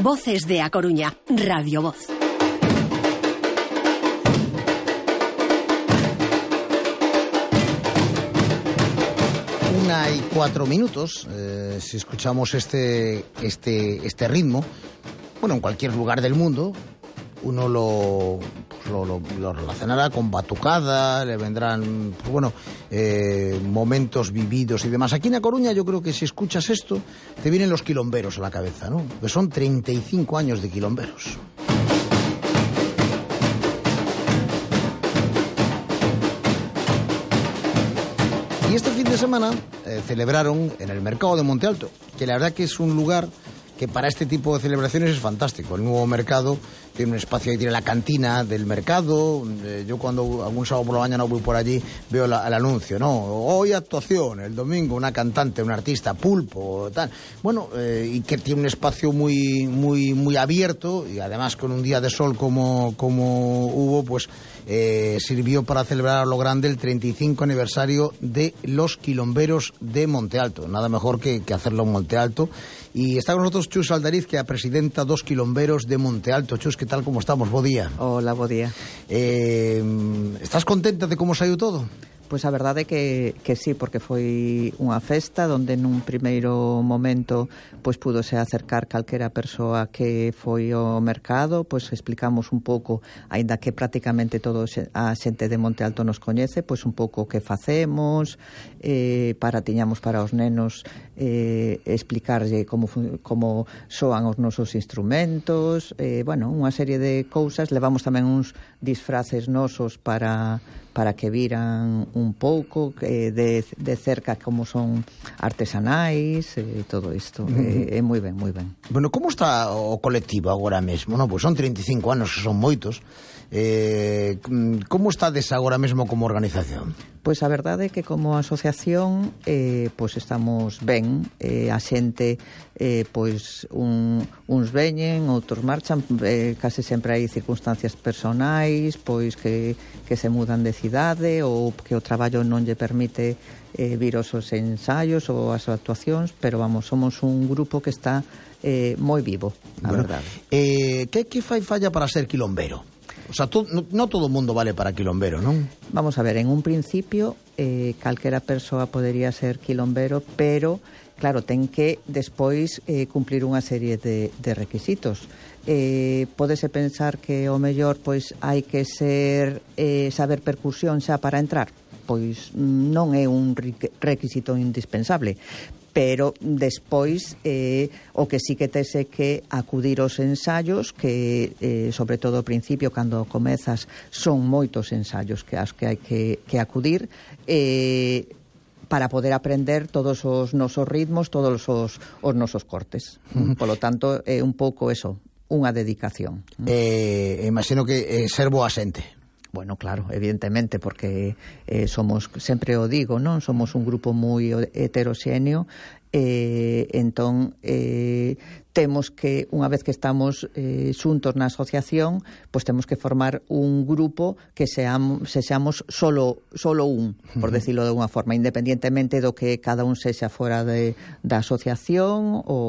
Voces de A Coruña, Radio Voz. 1:04, si escuchamos este ritmo, bueno, en cualquier lugar del mundo, uno lo relacionará con batucada, le vendrán, pues bueno, momentos vividos y demás. Aquí en A Coruña yo creo que si escuchas esto, te vienen los quilomberos a la cabeza, ¿no? Que son 35 años de quilomberos. Y este fin de semana celebraron en el mercado de Monte Alto, que la verdad que es un lugar que para este tipo de celebraciones es fantástico. El nuevo mercado tiene un espacio, ahí tiene la cantina del mercado. Yo cuando algún sábado por la mañana voy por allí veo el anuncio, ¿no? Hoy actuación, el domingo una cantante, un artista, Pulpo, tal. Bueno, y que tiene un espacio muy abierto, y además con un día de sol como hubo, pues sirvió para celebrar a lo grande el 35 aniversario de los quilomberos de Monte Alto. Nada mejor que hacerlo en Monte Alto. Y está con nosotros Chus Aldariz, que é a presidenta dos quilomberos de Monte Alto. Chus, que tal, como estamos? Bo día. Hola, bo día. Estás contenta de como saiu todo? Pois a verdade é que sí, porque foi unha festa onde nun primeiro momento pois púdose acercar calquera persoa que foi ao mercado, pois explicamos un pouco, aínda que prácticamente todo a xente de Monte Alto nos coñece, pois un pouco o que facemos, tiñamos para os nenos explicarlle como soan os nosos instrumentos, bueno, unha serie de cousas. Levamos tamén uns disfraces nosos para que viran un pouco de cerca como son artesanais e todo isto. É moi ben, moi ben. Bueno, como está o colectivo agora mesmo? No, pois son 35 anos, que son moitos. Como estades agora mesmo como organización? Pois a verdade é que como asociación pois estamos ben, a xente pois uns veñen, outros marchan, case sempre hai circunstancias personais, pois que se mudan de cidade ou que o traballo non lle permite vir aos ensaios ou as actuacións, pero vamos, somos un grupo que está moi vivo, a verdade. Que fai falla para ser quilombero? O sea, no todo o mundo vale para quilombero, non? Vamos a ver, en un principio calquera persoa podería ser quilombero, pero claro, ten que despois cumplir unha serie de requisitos. Pódese pensar que o mellor pois hai que saber percusión xa para entrar. Pois non é un requisito indispensable, pero despois o que sí que tes é que acudir aos ensaios, que sobre todo ao principio, cando comezas, son moitos ensaios que hai que acudir para poder aprender todos os nosos ritmos, todos os nosos cortes. Polo tanto, é un pouco eso, unha dedicación. Imagino que ser boa xente. Bueno, claro, evidentemente, porque somos, sempre o digo, non? Somos un grupo moi heteroxéneo, entón temos que, unha vez que estamos xuntos na asociación, pois temos que formar un grupo que sexamos solo un, por decirlo de unha forma, independientemente do que cada un sexa fora da asociación ou